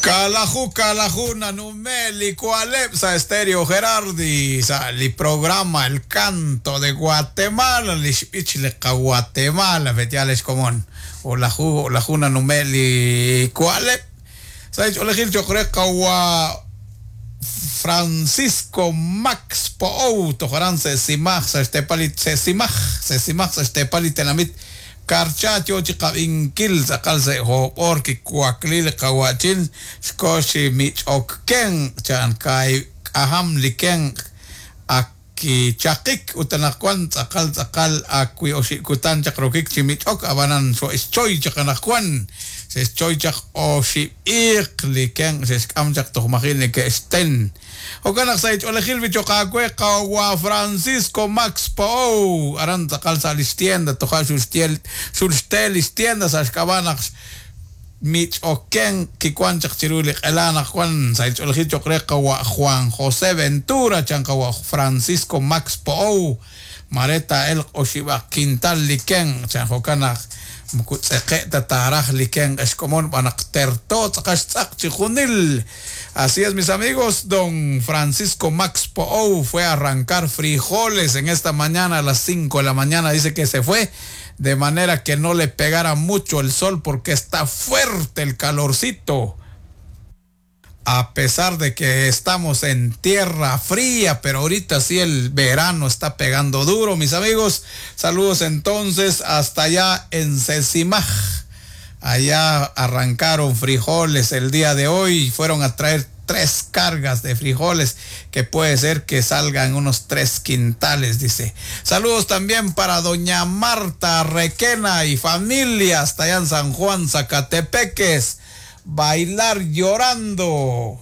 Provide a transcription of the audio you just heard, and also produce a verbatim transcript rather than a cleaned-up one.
Kalaju, kalaju, nanumeli, kualep sa Estéreo Gerardi, sa li programa El Canto de Guatemala, lixbich li Guatemala, betiales común. Olaju, olaju nanumeli, kualep. Sa olejil chokre kawa Francisco Max Pou, tojaran se simaj, sa estepali, se simaj, se simaj, sa estepali tenamit. Karchacho chiqabinkil tz'aqal se jo'b'or kikuaklil qawachin xkoxi mich'okken chan kay k'ajam liken akichaqik utanaqwan tz'aqal tz'aqal akwi oxikutan chaq rokik chimich'ok abanan xo ischoy chaqanaqwan xeschoy chaq oxib'iq liken xexk'am chaq tojmajil neke'xten Okanaq sa ich'olejil bichoqakwe qawa Francisco Max Pou aran tz'aqal sa lixtienda toja xulxtiel xulxtel lixtienda sa xk'ab'anaq mich'oken kikuan chaq chiru li q'elanaq Juan sa ich'olejil choqre qawa Juan José Ventura chan qawa Francisco Max Pou mareta el oxib'aq quintal liken chan jokanaq mkutz'eqe' tataraj liken exkomon b'anaq terto tz'aqax tz'aq chijunil. Así es, mis amigos, don Francisco Max Pou fue a arrancar frijoles en esta mañana a las cinco de la mañana. Dice que se fue de manera que no le pegara mucho el sol porque está fuerte el calorcito. A pesar de que estamos en tierra fría, pero ahorita sí el verano está pegando duro, mis amigos. Saludos entonces hasta allá en Cecimaj. Allá arrancaron frijoles el día de hoy, fueron a traer tres cargas de frijoles, que puede ser que salgan unos tres quintales, dice. Saludos también para doña Marta Requena y familia hasta allá en San Juan, Zacatepeques. Bailar llorando.